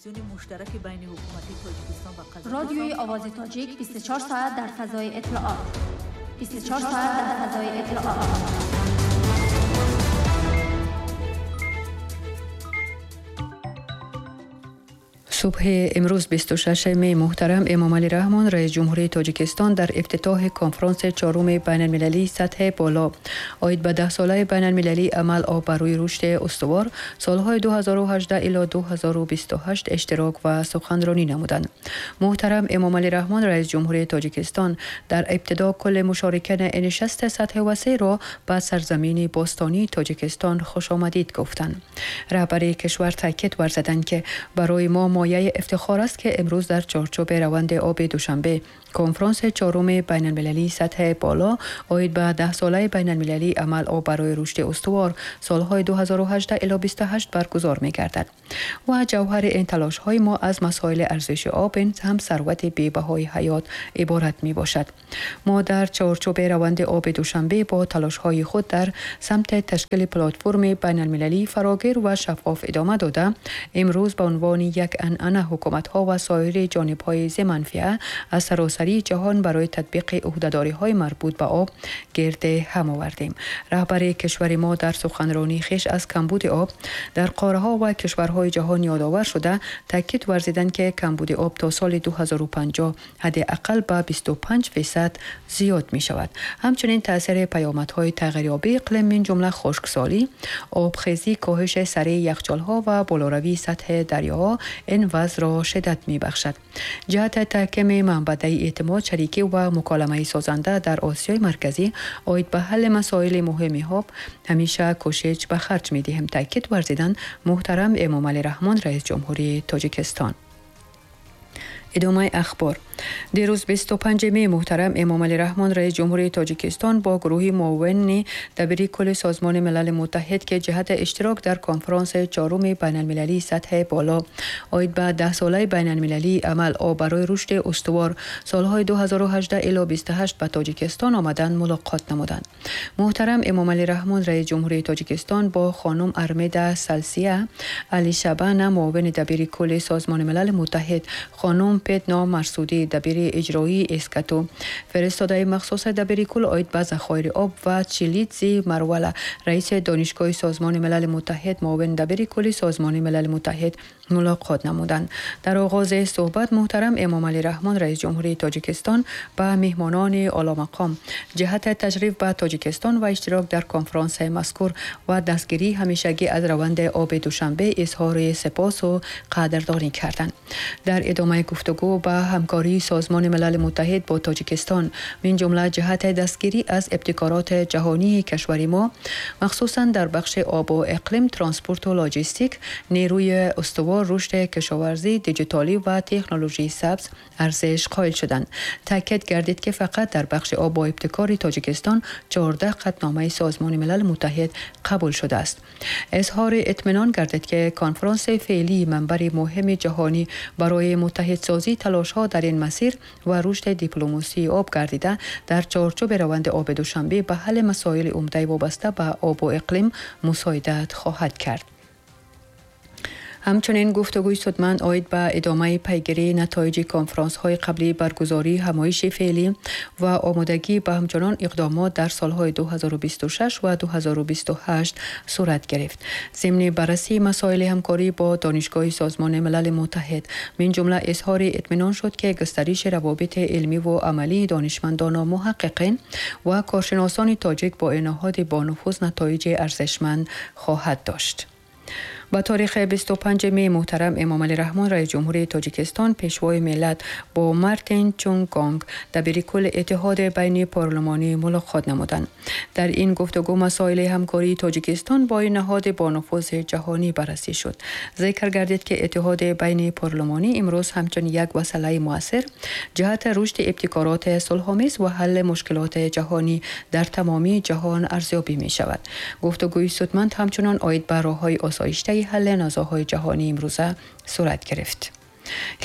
Комиссиони муштараки байниҳукуматии Тоҷикистон ва Қазоқистон. Радиои Овози Тоҷик 24 соат дар фазои иттилоот. 24 соат дар фазои иттилоот. Субҳи имрӯз 26 май муҳтарам Эмомалӣ Раҳмон, раис ҷумҳурии Тоҷикистон, дар ифтитоҳи конфронси чоруми байналмилалии сатҳи боло оид ба даҳсолаи байналмилалии амал об барои рушди устувор солҳои 2018 ило 2028 иштирок ва суханронӣ намуданд. Муҳтарам Эмомалӣ Раҳмон, раис ҷумҳурии Тоҷикистон, дар ибтидо кулли мушорикини нишасти сатҳи васеъро ба сарзамини бостонии Тоҷикистон хушомадид гуфтанд. Раҳбари кишвар таъкид варзиданд, ки барои мо мояи ифтихор аст, ки имрӯз дар чорчӯби раванди оби Душанбе конфронси чоруми байналмилалии сатҳи боло оид ба даҳсолаи байналмилалии амал об барои рушди устувор солҳои 2018 ило 28 баргузор мегардад ва ҷавҳари ин талошҳои мо аз масоили арзиши об, ин ҳам сарвати бебаҳои ҳаёт иборат мебошад. Мо дар чорчӯби раванди оби Душанбе бо талошҳои худ дар самти ташкили платформи байналмилалии фарогир ва шаффоф идома дода, имрӯз ба унвони як анъана ҳукуматҳо ва соири ҷонибҳои зиманфиа аз саросарии ҷаҳон барои татбиқи ӯҳдадориҳои марбут ба об гирди ҳам овардем. Раҳбари кишвари мо дар суханронии хеш аз камбуди об дар қораҳо ва кишварҳои ҷаҳон ёдовар шуда, таъкид варзиданд, ки камбуди об то соли 2050 ҳадди ақал ба 25% зиёд мешавад. Ҳамчунин таъсири паёмадҳои тағйирёбии иқлим, мин ҷумла хушксолӣ, обхезӣ, коҳиши сареи яхчолҳо ва болоравии сатҳи дарёҳо ин вазъро шиддат мебахшад. Ҷиҳати таҳкими манбаъи эътимод, шарикӣ ва муколамаи созанда дар Осиёи Марказӣ оид ба ҳалли масоили муҳими об ҳамеша кӯшиш ба харҷ медиҳем, таъкид варзиданд муҳтарам Эмомалӣ Раҳмон, раис ҷумҳурии Тоҷикистон. Идомаи ахбор. Дирӯз 25 май муҳтарам Эмомалӣ Раҳмон, раис ҷумҳурии Тоҷикистон, бо гурӯҳи муовини дабири кулли Созмони Милали Муттаҳид, ки ҷиҳати иштирок дар конфронси чоруми байналмилалии сатҳи боло оид ба даҳсолаи байналмилалии амал об барои рушди устувор солҳои 2018 ило 28 ба Тоҷикистон омаданд, мулоқот намуданд. Муҳтарам Эмомалӣ Раҳмон, раис ҷумҳурии Тоҷикистон, бо хонум Армеда Салсия Алишабана, муовини дабири кулли Созмони Милали Муттаҳид, хонум Петно Марсудӣ, дабири иҷроии Эскату, фиристодаи махсуси дабири кул оид ба захоири об ва Чилидзи Марвала, раиси Донишгоҳи Созмони Милали Муттаҳид, муовини дабири кулли Созмони Милали Муттаҳид мулоқот намуданд. Дар оғози суҳбат муҳтарам Эмомалӣ Раҳмон, раис ҷумҳурии Тоҷикистон, ба меҳмонони оломақом ҷиҳати ташриф ба Тоҷикистон ва иштирок дар конфронси мазкур ва дастгирии ҳамешагӣ аз раванди оби Душанбе изҳори сипосу қадрдонӣ карданд. Дар идомаи гуфтугӯ ба ҳамкории Созмони Милали Муттаҳид бо Тоҷикистон, мин ҷумла ҷиҳати дастгирӣ аз ибтикороти ҷаҳонии кишвари мо, махсусан дар бахши обу иқлим, транспорту лоҷистик, нерӯи устувор, рушди кишоварзӣ, диҷитолӣ ва технологияи сабз арзиш қоил шуданд. Таъкид гардид, ки фақат дар бахши об бо ибтикори Тоҷикистон 14 қатъномаи Созмони Милали Муттаҳид қабул шудааст. Изҳори итминон гардид, ки конфронси феълии манбари муҳими ҷаҳонӣ барои муттаҳидсозии талошҳо дар ин масир ва рушди дипломасии об гардида, дар чорчӯби раванди оби Душанбе ба ҳалли масоили умдаи вобаста ба обу иқлим мусоидат хоҳад кард. Ҳамчунин гуфтугӯи судманд оид ба идомаи пайгирии натоиҷи конфронсҳои қаблии баргузории ҳамоиши феълӣ ва омодагӣ ба ҳамчунон иқдомот дар солҳои 2026 ва 2028 сурат гирифт. Зимни баррасии масоили ҳамкорӣ бо Донишгоҳи Созмони Милали Муттаҳид, мин ҷумла изҳори итминон шуд, ки густариши равобити илмиву амалии донишмандону муҳаққиқин ва коршиносони тоҷик бо ин ниҳоди бонуфуз натоиҷи арзишманд хоҳад дошт. Ба таърихи 25 май муҳтарам Эмомалӣ Раҳмон, раис ҷумҳурии Тоҷикистон, пешвои миллат, бо Мартин Чунгонг, дабири кулли Иттиҳоди байнипарлумонӣ мулоқот намуданд. Дар ин гуфтугӯ масоили ҳамкории Тоҷикистон бо ин ниҳоди бонуфузи ҷаҳонӣ баррасӣ шуд. Зикр гардид, ки Иттиҳоди байнипарлумонӣ имрӯз ҳамчун як василаи муассир ҷиҳати рушди ибтикороти сулҳомез ва ҳалли мушкилоти ҷаҳонӣ дар тамомии ҷаҳон арзёбӣ мешавад. Гуфтугӯи судманд ҳамчунон оид ба роҳҳои осоиштаи ҳалли низоъҳои ҷаҳонии имрӯза сурат гирифт.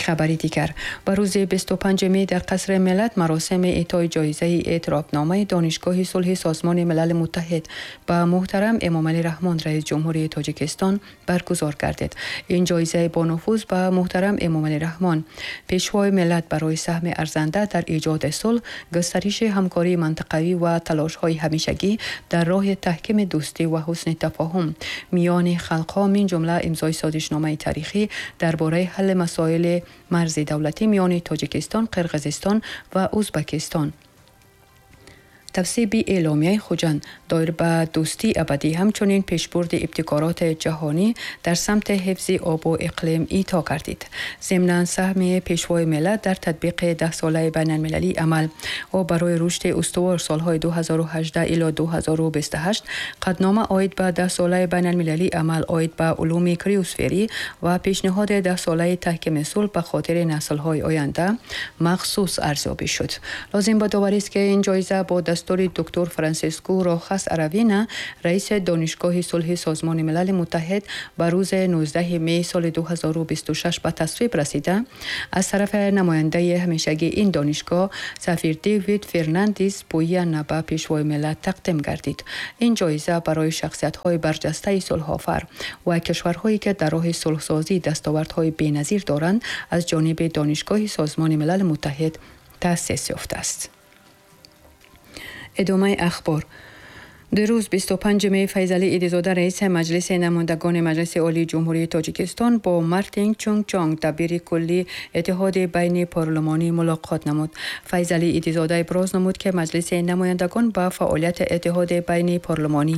Хабари дигар. Ба рӯзи 25 май дар Қасри Миллат маросими эътои ҷоизаи эътирофномаи Донишгоҳи сулҳи Созмони Милали Муттаҳид ба муҳтарам Эмомалӣ Раҳмон, раис ҷумҳурии Тоҷикистон, баргузор гардид. Ин ҷоизаи бонуфуз ба муҳтарам Эмомалӣ Раҳмон, пешвои миллат, барои саҳми арзанда дар эҷоди сулҳ, густариши ҳамкории минтақавӣ ва талошҳои ҳамешагӣ дар роҳи таҳкими дӯстӣ ва ҳусни тафоҳум миёни халқҳо, мин ҷумла имзои созишномаи таърихӣ дар бораи ҳалли масоили марзи давлатӣ миёни Тоҷикистон, Қирғизистон ва Ӯзбекистон, тасвиби эъломияи Хуҷанд доир ба дӯстии абадӣ, ҳамчунин пешбурди ибтикороти ҷаҳонӣ дар самти ҳифзи обу иқлим ито гардид. Зимнан саҳми пешвои миллат дар татбиқи даҳсолаи байналмилалии амал об барои рушди устувор солҳои 2018 ило 2028, қатънома оид ба даҳсолаи байналмилалии амал оид ба улуми криосферӣ ва пешниҳоди даҳсолаи таҳкими сулҳ ба хотири наслҳои оянда махсус арзёбӣ шуд. Лозим ба доварист, ки ин ҷоиза бо дастури доктор Франсиско Рохас Аравина, раиси Донишгоҳи сулҳи Созмони Милали Муттаҳид, ба рӯзи 19 май соли 2026 ба тасвиб расида, аз тарафи намояндаи ҳамешагии ин донишгоҳ сафир Дэвид Фернандис Пуяна ба пешвои миллат тақдим гардид. Ин ҷоиза барои шахсиятҳои барҷастаи сулҳофар ва кишварҳое ки дар роҳи сулҳсозӣ дастовардҳои беназир доранд, аз ҷониби Донишгоҳи Созмони Милали Муттаҳид таъсис ёфтааст. Идомаи ахбор. Дирӯз, 25 май, Файзалӣ Идизода, раиси Маҷлиси намояндагони Маҷлиси Олии Ҷумҳурии Тоҷикистон, бо Мартин Чунг-Чонг, дабири кулли Иттиҳоди байни парлумонӣ, мулоқот намуд. Файзалӣ Идизода иброз намуд, ки Маҷлиси намояндагон ба фаъолияти Иттиҳоди байни парлумонӣ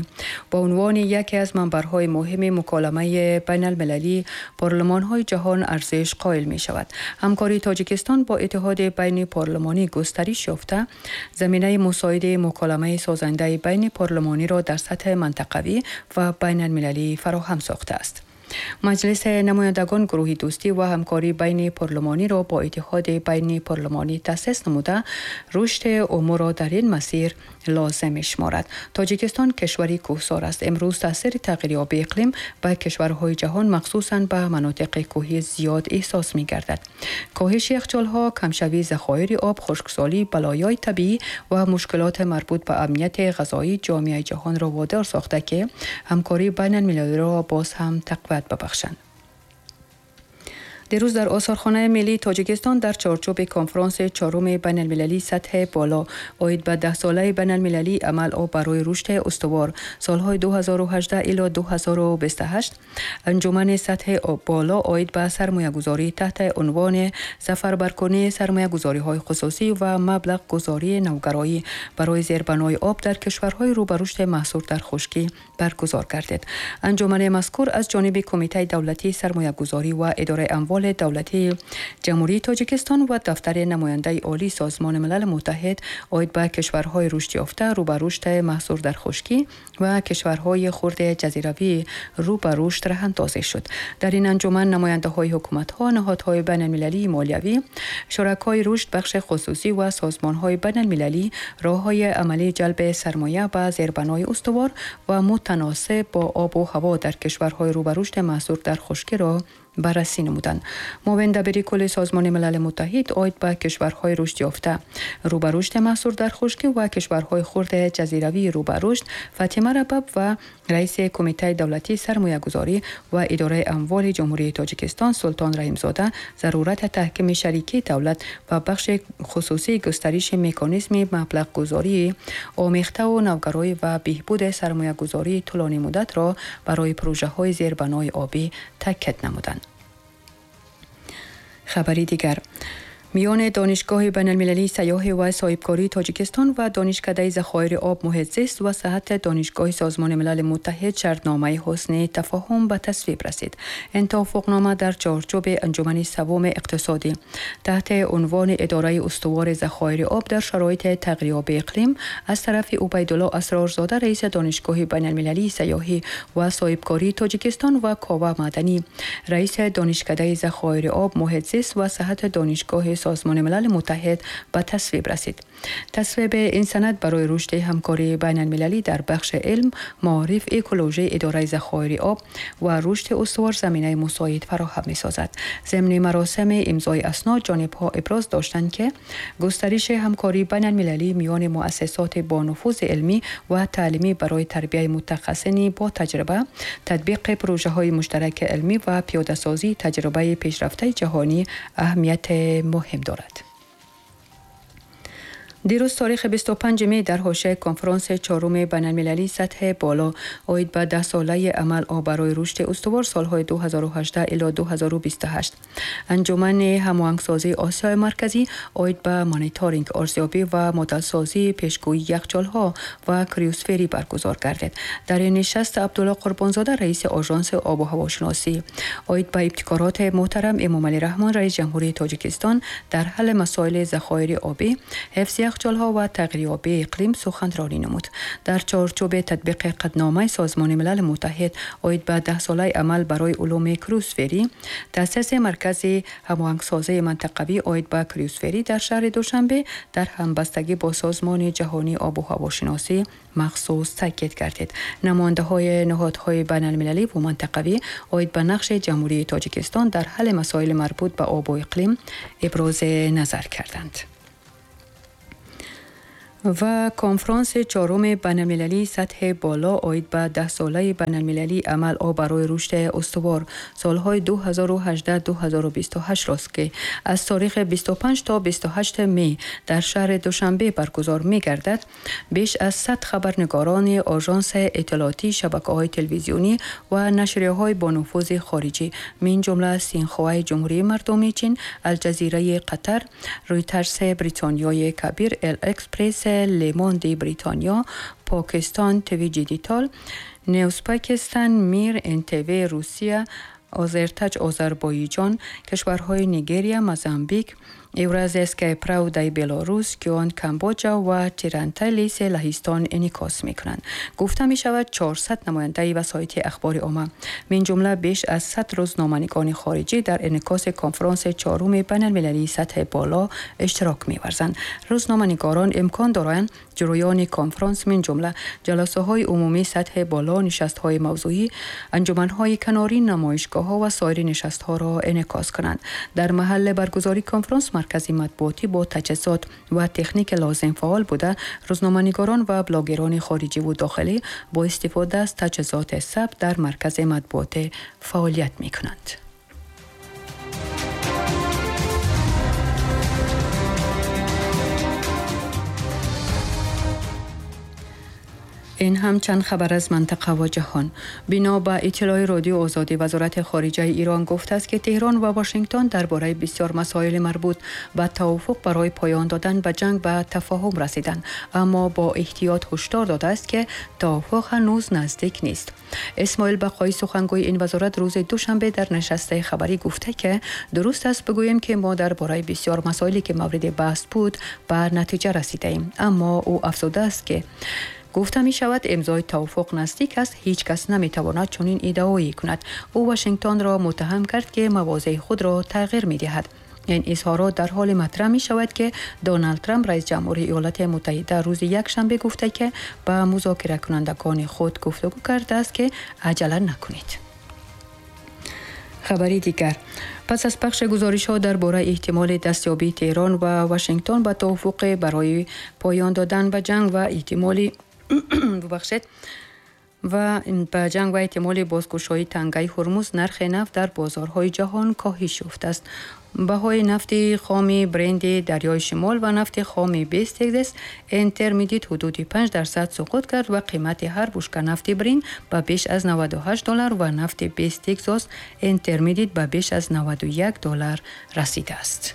ба унвони яке аз манбарҳои муҳими муколамаи байналмилалии парлумонҳои ҷаҳон арзиш қоил мешавад. Ҳамкории Тоҷикистон бо Иттиҳоди байни парлумонӣ густариш ёфта, заминаи мусоиди муколамаи созандаи байни парлумониро дар сатҳи минтақавӣ ва байналмилалӣ фароҳам сохтааст. Маҷлиси намояндагон гурӯҳи дӯстӣ ва ҳамкории байни парлумониро бо Иттиҳоди байни парлумонӣ таъсис намуда, рушди умурро дар ин масир лозим мешуморад. Тоҷикистон кишвари кӯҳсор аст. Имрӯз таъсири тағйирёбии иқлим ба кишварҳои ҷаҳон, махсусан ба манотиқи кӯҳӣ, зиёд эҳсос мегардад. Коҳиши яхчолҳо, камшавии захоири об, хушксолӣ, балоёи табиӣ ва мушкилоти марбут ба амнияти ғизоӣ ҷомеаи ҷаҳонро водор сохта, ки ҳамкории байналмилалиро боз ҳам тақвият бибахшанд. Дирӯз дар Осорхонаи миллии Тоҷикистон дар чорчӯби конфронси чоруми байналмилалии сатҳи боло оид ба даҳсолаи байналмилалии амал об барои рушди устувор солҳои 2018 ило 2028, анҷумани сатҳи боло оид ба сармоягузорӣ таҳти унвони сафарбаркунии сармоягузориҳои хусусӣ ва маблағгузории навгароӣ барои зербанои об дар кишварҳои рӯ ба рушди маҳсур дар хушкӣ баргузор гардид. Анҷумани мазкур аз ҷониби Кумитаи давлатии сармоягузорӣ ва идораи амволи давлатии Ҷумҳурии Тоҷикистон ва дафтари намояндаи олии Созмони Милали Муттаҳид оид ба кишварҳои рушдёфта, рӯ ба рушд маҳсур дар хушкӣ ва кишварҳои хурди ҷазиравӣ рӯ ба рушд роҳандозӣ шуд. Дар ин анҷуман намояндаҳои ҳукуматҳо, ниҳодҳои байналмилалии молиявӣ, шуракои рушд, бахши хусусӣ ва созмонҳои байналмилалӣ роҳҳои амалии ҷалби сармоя ба зербанои устувор ва мутаносиб бо обу ҳаво дар кишварҳои рӯ ба рушд маҳсур дар хушкиро баррасӣ намуданд. Муовин дабири кулли Созмони Милали Муттаҳид оид ба кишварҳои рушдёфта, рӯ ба рушд маҳсур дар хушкӣ ва кишварҳои хурди ҷазиравии рӯ ба рушд Фатима Рабаб ва раиси Кумитаи давлатии сармоягузорӣ ва идораи амволи Ҷумҳурии Тоҷикистон Султон Раҳимзода зарурати таҳкими шарикии давлат ва бахши хусусии, густариши меканизми маблағгузории омехтаву навгароӣ ва беҳбуди сармоягузории тӯлонимуддатро барои пурӯжаҳои зербанои обӣ таъкид намуданд. Хабари дигар. Миёни Донишгоҳи байналмилалии сайёҳӣ ва соҳибкории Тоҷикистон ва Донишкадаи захоири об, муҳит зист ва саҳҳати Донишгоҳи Созмони Милали Муттаҳид шартномаи ҳусни тафоҳум ба тасвиб расид. Ин тавофуқнома дар чорчӯби анҷумани севуми иқтисодӣ таҳти унвони идораи устувори захоири об дар шароити тағйирёбии иқлим аз тарафи Убайдулло Асрорзода, раиси Донишгоҳи байналмилалии сайёҳӣ ва соҳибкории Тоҷикистон, ва Кова Маданӣ, раиси Донишкадаи захоири об, муҳит зист ва саҳҳати Донишгоҳи Созмони Милали Муттаҳид, ба тасвиб расид. تصویب این سند برای رشد همکاری بین المللی در بخش علم، معارف، اکولوژی، اداره ذخایر آب و رشد استوار زمینه مساعد فراهم می‌سازد. ضمن مراسم امضای اسناد جانب‌ها ابراز داشتند که گسترش همکاری بین المللی میان مؤسسات با نفوذ علمی و تعلیمی برای تربیت متخصصین با تجربه، تطبیق پروژه‌های مشترک علمی و پیاده‌سازی تجربه پیشرفته جهانی اهمیت مهم دارد. دیروز تاریخ 25 می در حاشیه کنفرانس چهارم بین‌المللی سطح بالا عاید به 10 ساله عمل آب برای رشد استوار سالهای 2018 الی 2028 انجمن هماهنگسازی آسیای مرکزی عاید به مانیتورینگ، ارزیابی و مدلسازی پیشگویی یخچال‌ها و کریوسفری برگزار گردید. در این نشست عبدالله قربانزاده رئیس آژانس آب و هواشناسی عاید به ابتکارات محترم امامعلی رحمان رئیس جمهوری تاجیکستان در حل مسائل ذخایر آبی، حفظ یخچال‌ها و تغییریابی اقلیم سخنرانی نمود. در چارچوب تطبیق قدنامه سازمان ملل متحد عاید به 10 ساله عمل برای علوم کریوسفری، تأسیس مرکز هماهنگسازی منطقوی عاید به کریوسفری در شهر دوشنبه در همبستگی با سازمان جهانی آب و هواشناسی مخصوص تاکید گردید. نماینده‌های نهادهای بین‌المللی و منطقوی عاید به نقش جمهوری تاجیکستان در حل مسائل مربوط به آب و اقلیم ابراز نظر کردند. و کنفرانس چهارم بین‌المللی سطح بالا عاید به 10 ساله بین‌المللی عمل آب برای رشد استوار سالهای 2018-2028 راست که از تاریخ 25 تا 28 می در شهر دوشنبه برگزار می گردد، بیش از 100 خبرنگاران آژانس اطلاعاتی، شبکه‌های تلویزیونی و نشریه‌های با نفوذ خارجی من جمله سینخوای جمهوری مردمی چین، الجزیره قطر، رویترز بریتانیای کبیر، ال اکسپرس، لموند بریتانیا، پاکستان تیوی دیجیتال، نیوز پاکستان، میر، ان تیوی روسیه، آذرتاج آذربایجان، کشورهای نیگریا، موزامبیک، Евразийская правда белорус، کیان کامبوجا و تیرانتالیس لهستان انعکاس میکنند. گفته می شود 400 نماینده وسایط اخبار عامه من جمله بیش از 100 روزنامه‌نگار خارجی در انعکاس کنفرانس چهارم بین‌المللی سطح بالا اشتراک می‌ورزند. روزنامه‌نگاران امکان دارند جریان کنفرانس من جمله جلسه‌های عمومی سطح بالا، نشست‌های موضوعی، انجمن‌های کناری، نمایشگاه‌ها و سایر نشست‌ها را انعکاس کنند. در محل برگزاری کنفرانس مرکز مطبوعاتی با تجهیزات و تکنیک لازم فعال بوده، روزنامه‌نگاران و بلاگران خارجی و داخلی با استفاده از تجهیزات ثبت در مرکز مطبوعات فعالیت می‌کنند. این هم چند خبر از منطقه و جهان. بنا به اطلاع رادیو آزادی، وزارت خارجه ایران گفته است که تهران و واشنگتن درباره بسیار مسائل مربوط به توافق برای پایان دادن به جنگ به تفاهم رسیدند، اما با احتیاط هشدار داده است که توافق هنوز نزدیک نیست. اسماعیل بقایی سخنگوی این وزارت روز دوشنبه در نشست خبری گفته که درست است بگوییم که ما درباره بسیار مسائلی که مورد بحث بود به نتیجه رسیده‌ایم، اما او افزوده است که گفته می شود امضای توافق نزدیک است، هیچ کس نمی تواند چنین ادعایی کند. او واشنگتن را متهم کرد که مواضع خود را تغییر می دهد. این اظهارات در حال مطرح می شود که دونالد ترامپ رئیس جمهوری ایالات متحده روز یکشنبه گفته که به مذاکره کنندگان خود گفتگو کرده است که عجله نکنید. خبری دیگر، پس از پخش گزارش‌ها درباره احتمال دستیابی تهران و واشنگتن به توافق برای پایان دادن به جنگ و احتمال به جنگ و احتمال بازگشایی تنگه هرمز، نرخ نفت در بازارهای جهان کاهش یافته است. بهای نفت خام برند دریای شمال و نفت خام وست تگزاس اینترمدیت حدود 5% سقوط کرد و قیمت هر بشکه نفت برند به بیش از $98 و نفت وست تگزاس اینترمدیت به بیش از $91 رسیده است.